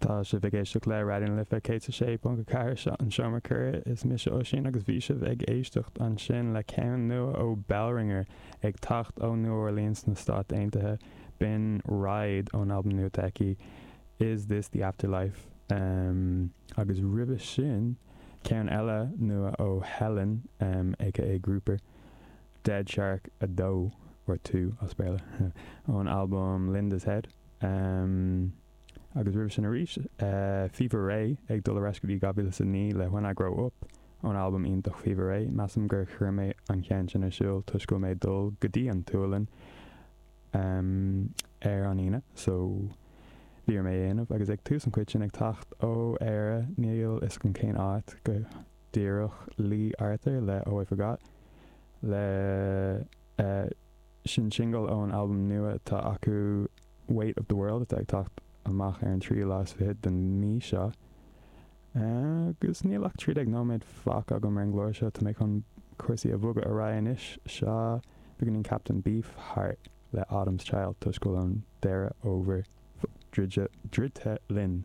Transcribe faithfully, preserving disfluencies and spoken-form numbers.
Tá sibh ag éisteacht le Raidió na Life céad sé ponc a ceathair seo an Seomra Comhrá is mise Oisín agus bhí sibh ag éisteacht ansin le ceann nua ó Bellringer ag teacht ó New Orleans sna Stáit Aontaithe b'in Ride ón albam nua aici Is This the Afterlife um, agus roimhe sin ceann eile nua ó Helen um, aka Grouper Dead Shark a dó or two as Béarla ón album Linda's Head. Um, agus roimhe sin arís uh, Fever Ray ag dul ar ais go dtí dhá mhíle a naoi le When I Grow Up ón album iontach Fever Ray measaim gur chuir mé an ceann sin ar siúl toisc go mé dul go dtí an tSualainn um, ar an Aoine so bhí mé éanamh agus ag tús an chuid sin ag teacht ó Éire níl a fhios agam cén áit go díreach Lee Arthur le Oh I Forgot le uh, sin single ón album nua atá acu Weight of the World atá ag teacht amach ar an tríú lá fiche den mí seo. Agus níl ach trí déag nóiméad fágtha agam ar an gclár seo tá mé chun cúrsaí a bhogadh ar aghaidh anois seo beagáinín Captain Beefheart le Autumn's Child toisc go bhfuil an deireadh fómhair druidte linn.